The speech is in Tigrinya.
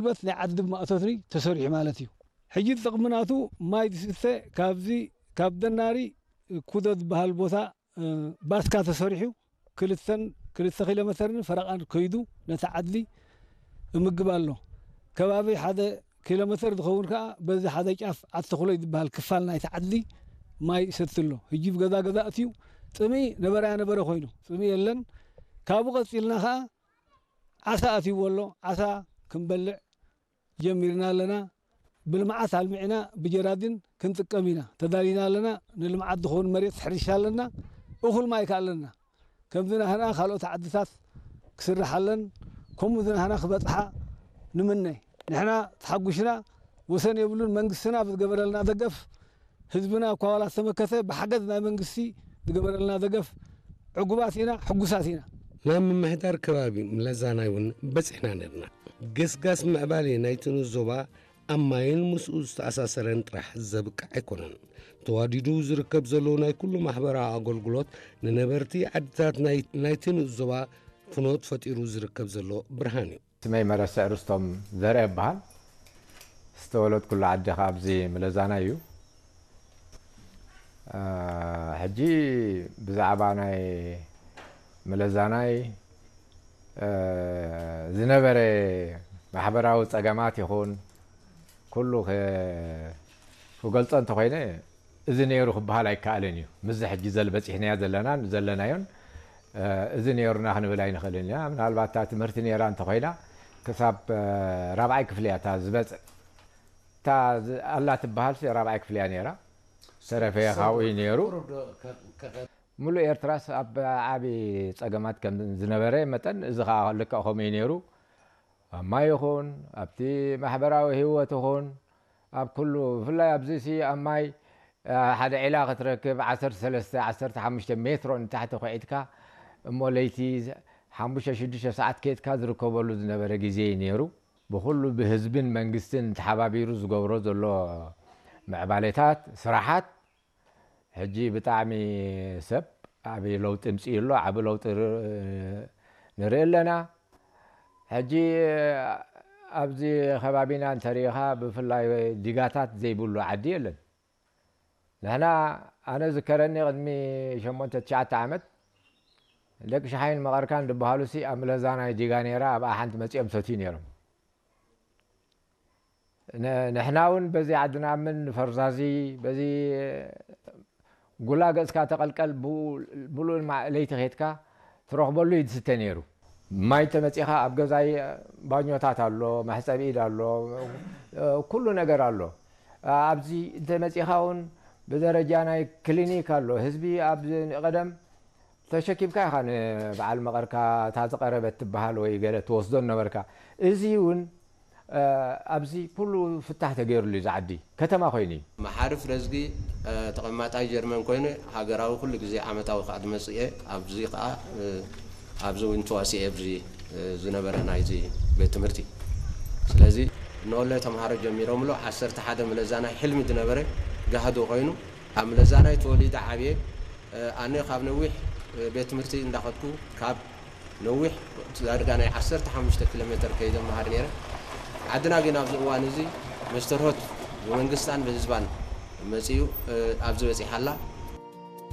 ጉልበት ናይ ዓዲ ድማ እቶትኒ ተሰሪሑ ማለት እዩ። ሕጂ ጥቕሚ ናቱ ማይ ዝስተ ካብዚ ካብ ደናሪ ኩዶ ዝበሃል ቦታ ባስካ ተሰሪሑ ክልተን ክልተ ኪሎ መተርን ፈረቓን ከይዱ ነቲ ዓድሊ እምግብ ኣሎ። ከባቢ ሓደ ኪሎ መተር ዝኸውን ከኣ በዚ ሓደ ጫፍ ዓዲ ተኽሎይ ዝበሃል ክፋል ናይቲ ዓድሊ ማይ ይሰቲ ኣሎ። ሕጂ ብገዛ ገዛ እትዩ ጥሚ ነበራያ ነበረ ኮይኑ ጥሚ የለን። ካብኡ ቀጺልና ከኣ ዓሳ ኣትይዎ ኣሎ። ዓሳ ክንበልዕ ጀሚርና ኣለና። ብልምዓት ኣልሚዕና ብጀራዲን ክንጥቀም ኢና ተዳሊና ኣለና። ንልምዓት ዝኸውን መሬት ሕርሻ ኣለና። እኹል ማይ ከኣ ኣለና። ከምዚ ናህና ካልኦት ዓድታት ክስርሓለን ከምኡ ዝናህና ክበጽሓ ንምነ። ንሕና ተሓጒስና ወሰን የብሉን። መንግስትና ብዝገበረልና ደገፍ ህዝብና እኳ ዋላ ዝተመከተ ብሓገዝ ናይ መንግስቲ ዝገበረልና ደገፍ ዕጉባት ኢና፣ ሕጉሳት ኢና። ናብ ምምሕዳር ከባቢ ምለዛናይ እውን በጺሕና ነርና። ገስጋስ ምዕባሌ ናይቲ ንዞባ ኣብ ማይን ምስኡ ዝተኣሳሰረን ጥራሕ ዘብቅዕ ኣይኮነን። ተዋዲዱ ዝርከብ ዘሎ ናይ ኩሉ ማሕበራዊ ኣገልግሎት ንነበርቲ ዓድታት ናይ ናይቲ ንዞባ ፍኖት ፈጢሩ ዝርከብ ዘሎ ብርሃን እዩ። ስመይ መረስዕ ርስቶም ዘርአ እበሃል። ዝተወለድኩሉ ዓዲ ከኣ ኣብዚ ምለዛናይ እዩ። ሕጂ ብዛዕባ ናይ ምለዛናይ ዝነበረ ማሕበራዊ ጸገማት ይኹን ኩሉ ክገልጾ እንተኾይነ እዚ ነይሩ ክበሃል ኣይከኣልን እዩ። ምስዚ ሕጂ ዘል በጺሕናዮ ዘለናን ዘለናዮን እዚ ነይሩና ክንብል ኣይንኽእልን ኢና። ምናልባት እታ ትምህርቲ ነይራ እንተኾይና ክሳብ ራብዓይ ክፍሊ እያ እታ ዝበጽእ። እታ ኣላ ትበሃል ራብዓይ ክፍሊ እያ ነይራ። ተረፈ ካብኡ እዩ ነይሩ። ሙሉእ ኤርትራስ ኣብ ዓቢ ጸገማት ከም ዝነበረ መጠን እዚ ከኣ ልክዕ ከምኡ እዩ ነይሩ። ኣብ ማይ ይኹን ኣብቲ ማሕበራዊ ህይወት ይኹን ኣብ ኩሉ ብፍላይ ኣብዚ ሲ ኣብ ማይ ሓደ ዒላ ክትረክብ ዓሰርተ ሰለስተ ዓሰርተ ሓሙሽተ ሜትሮ ንታሕቲ ኩዒትካ እሞ ለይቲ ሓሙሽተ ሽዱሽተ ሰዓት ኬድካ ዝርከበሉ ዝነበረ ግዜ እዩ ነይሩ። ብኹሉ ብህዝብን መንግስትን ተሓባቢሩ ዝገብሮ ዘሎ ምዕባሌታት ስራሓት ሕጂ ብጣዕሚ ሰብ ዓቢ ለውጢ ምጽኡ ኣሎ። ዓቢ ለውጢ ንርኢ ኣለና። ሕጂ ኣብዚ ከባቢና እንተሪኢኻ ብፍላይ ዲጋታት ዘይብሉ ዓዲ የለን። ንሕና ኣነ ዝከረኒ ቅድሚ ሸሞንተ ትሽዓተ ዓመት ደቂ ሸሓይን መቐርካን ዝበሃሉ ሲ ኣብ ምለዛናይ ዲጋ ነይራ ኣብኣ ሓንቲ መጺኦም ሰትዩ ነይሮም። ንሕና እውን በዚ ዓድና ምን ፈርዛዚ በዚ ጉላ ገጽካ ተቐልቀል ብኡ- ብኡ ለይቲ ኬድካ ትረኽበሉ እዩ ዝስተ ነይሩ። ማይ ተመጺኻ ኣብ ገዛይ ባኞታት ኣሎ፣ መሕጸቢ ኢድ ኣሎ፣ ኩሉ ነገር ኣሎ። ኣብዚ እንተመጺኻ እውን ብደረጃ ናይ ክሊኒክ ኣሎ። ህዝቢ ኣብ ቀደም ተሸኪምካ ኢኻ ንበዓል መቐርካ እታ ዝቐረበት ትበሃል ወይ ገለ ትወስዶ ነበርካ። እዚ እውን ኣብዚ ኩሉ ፍታሕ ተገይሩሉ እዩ ዝዓዲ ከተማ ኮይኑ እዩ። መሓርፍ ረዝጊ ተቐማጣይ ጀርመን ኮይኑ ሃገራዊ ኩሉ ግዜ ዓመታዊ ከዓ ዝመፅእ እየ። ኣብዚ ከዓ ኣብዚ እውን ተዋሲኤ ኣብዚ ዝነበረ ናይዚ ቤት ትምህርቲ። ስለዚ ንኦለ ተምሃሮ ጀሚሮምሎ ዓሰርተ ሓደ ምለዛ ናይ ሕልሚ ዝነበረ ጋህዶ ኮይኑ ኣብ ምለዛ ናይ ተወሊደ ዓብየ ኣነ ካብ ነዊሕ ቤት ትምህርቲ እንዳኸድኩ ካብ ነዊሕ ዳርጋ ናይ ዓሰርተ ሓሙሽተ ኪሎ ሜትር ከይደ መሃር ነይረ። ዓድና ግን ኣብዚ እዋን እዚ መስተርሆት ብመንግስታን ብህዝባን መፅዩ ኣብዚ በፂሓ ኣላ።